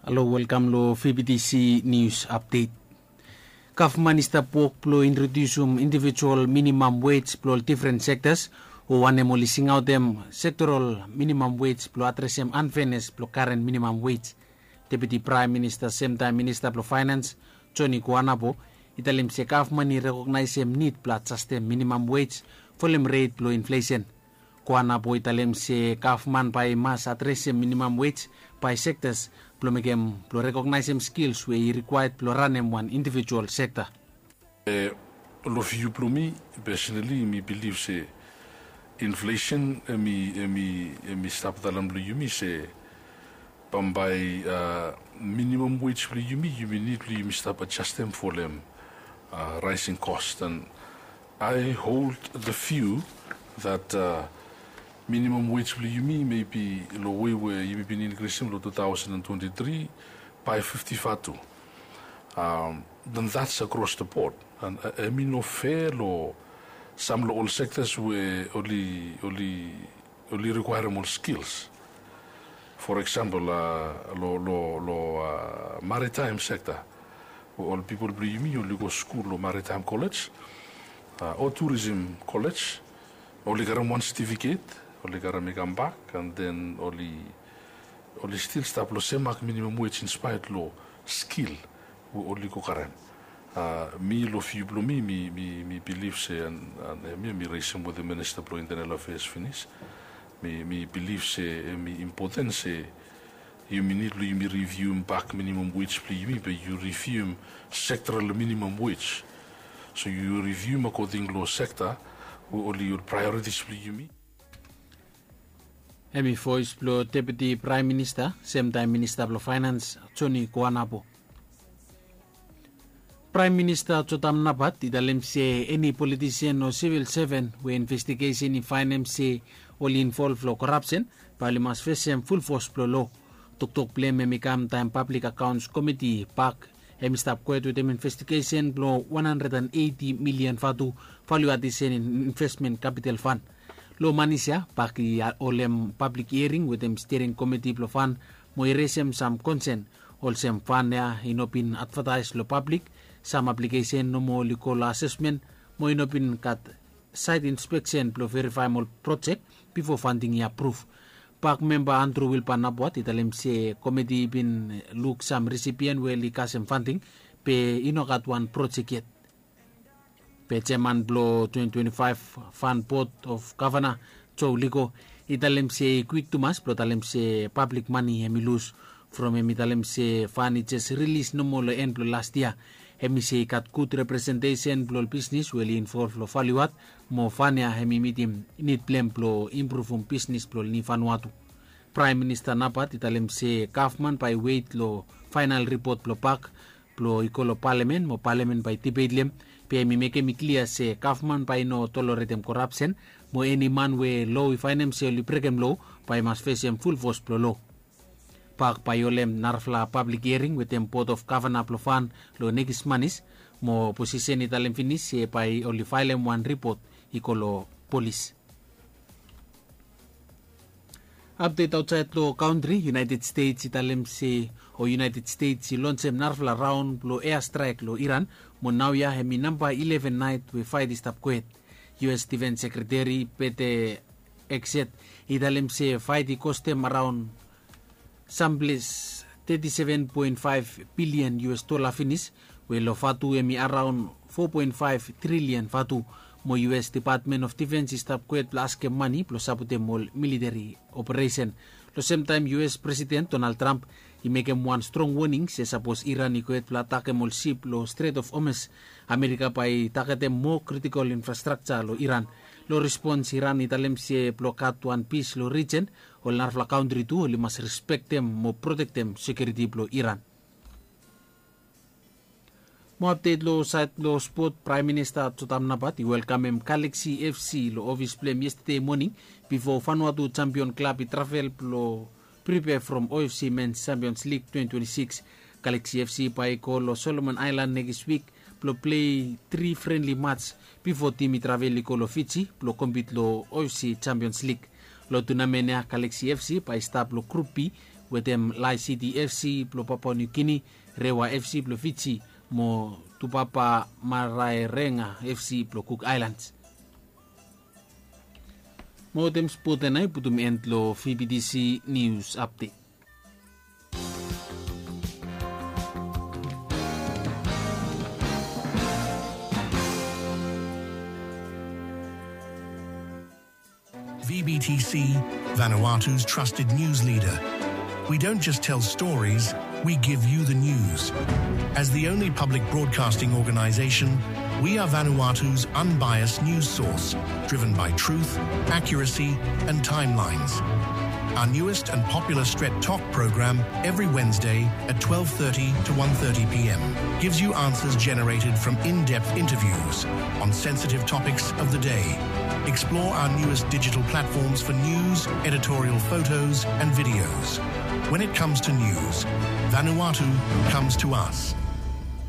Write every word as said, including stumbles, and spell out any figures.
Halo, welkam long V B T C News Update. Gavman i stap wok blong introdiusim indivijual minimam wej blong ol difren sektas, o wanem oli singaotem sektoral minimam wej blong adresem anfenes blong karen minimam wej. Deputi Praem Minista semtaem Minista blong Faenans, Joni Kuanapo, i talem se gavman i rekognaesem nid blong adjastem minimam wej folem ret blong inflesen. Kuanapo i talem se gavman bae i mas adresem minimam wej bae sektas blong mekem blong rekognaesem skils we i rikwaed blong ranem wan indivijual sekta. Long viu blong mi, pesenali mi bilif se inflesen hemi hemi hemi stap dalan blong yumi se bambae minimam wej blong yumi, yumi nid blong yumi stap adjastem folem raesing kos. And I hold the view that minimam wej blong yumi maybe long wei we yumi bin inkrisem long two thousand and twenty-three by fifty vatu. Then that's across the board. And hemi no fair long sam long ol sektas we oli oli oli rikwaerem ol skils. For example, long long long maritaem sekta, we ol pipol blong yumi oli go skul long maritaem kolej o turism kolej, oli karem wan setifiket, oli karem i kambak, and then oli oli stil stap long semak minimam wej inspaet long skil we oli go karem. Mi long viu blong mi, mi mi bilif se, and hemia mi resem wetem Minista blong Intenal Afeas finis, mi mi bilif se hemi impoten se yumi nid blong yumi riviuem bak minimam wej blong yumi, be yu riviuem sektoral minimam wej. So yu riviuem akoding long sekta we oli ol praeoritis blong yumi. Hemi voes blong Deputi Praem Minista semtaem Minista blong Faenans, Joni Kuanapo. Praem Minista Jotam Napat i talem se eni politisen o sivil seven we investigesen i faenem se oli involv long korapsen, bae oli mas fesem fulfos blong lo. Toktok blong hem hemi kam taem Pablik Akaons Komiti, PAK, hemi stap kwet wetem investigesen blong wan handred and eiti milian vatu valiu adisen in invesmen kapital fan. Long manis ya, PAK i holem pablik hiering wetem stiring komiti blong fan mo i resem sam konsen, olsem fan ya i no bin advataes long pablik, sam aplikesen nomo oli go long asesmen, mo i no bin gat saet inspeksen blong verifaem ol projek bifo fanting i apruf. PAK memba Andru Wilpan Napat i talem se komiti i bin luk sam risipien we oli kasem fanting, be i no gat wan projek yet. Be jeaman blong twenty twenty-five Fan Board of Gavana, Joe Liko, i talem se i kwik tumas blong talem se pablik mane hemi lus, from hemi talem se fan i jes rilis nomo long en blong las yia. Hemi se i gat gud representesen blong ol bisnis we oli involv long valiu ad, mo fan ya hemi mitim nid blong hem blong impruvum bisnis blong ol niu Vanuatu. Praem Minista Napat i talem se gavman bae i wet long faenal ripot blong PAK blong i go long palamen, mo palamen bae i dibet long hem, be hemi mekem i klia se gavman bae i no toloretem korapsen, mo eni man we lo i faenem se oli brekem lo bae i mas fesem fulfos blong lo. PAK bae i holem narafala pablik hiering wetem Board of Gavana blong fan long nekis manis, mo oposisen i talem finis se bae oli faelem wan ripot i go long polis. Apdet aotsaed long kantri, United States i talem se, o United States i lonsem narafala raon blong ea straek long Iran, mo naoia hemi namba eleven naet we faet i stap kwet. U S Defense Secretary Pete Hegseth i talem se faet i kostem araon samples thirty-seven point five billion U S dola finis, we long vatu hemi araon four point five trillion vatu, mo U S Department of Defense i stap kwet blong askem mane blong sapotem ol militeri operesen. Long semtaem U S Presiden Donald Trump i mekem wan strong woning se sapos Iran i kwet blong atakem ol sip long Strait of Hormuz, Amerika bae i tagetem moa kritikol infrastrakja long Iran. Long rispons, Iran i talem se blong gat wan pis long rijen, ol narafala kantri tu oli mas respektem mo protektem sekiuriti blong Iran. Mo apdet long saed blong spot, Praem Minista Jotam Napat i welkamem Galaxy F C long ofis blong hem yestade moning, bifo Vanuatu Champion Club i travel blong pripea from O F C Men's Champions League twenty twenty-six. Galaxy F C bae i go long Solomon Island nekis wik blong plei tri frenli mats bifo tim i travel i go long Fiji blong kompit long O F C Champions League. Long tunamen ya, Galaxy F C bae i stap long Grup B wetem Lae City F C blong Papua New Guinea, Rewa F C blong Fiji, mo Tupapa Maraerenga F C blong Cook Islands. Mo wetem spot ia nao i putum end long V B T C News Update. V B T C, Vanuatu's trusted news leader. We don't just tell stories, we give you the news. As the only public broadcasting organization, we are Vanuatu's unbiased news source, driven by truth, accuracy, and timelines. Our newest and popular Stret Tok program every Wednesday at twelve thirty to one thirty p.m. gives you answers generated from in-depth interviews on sensitive topics of the day. Explore our newest digital platforms for news, editorial photos, and videos. When it comes to news, Vanuatu comes to us.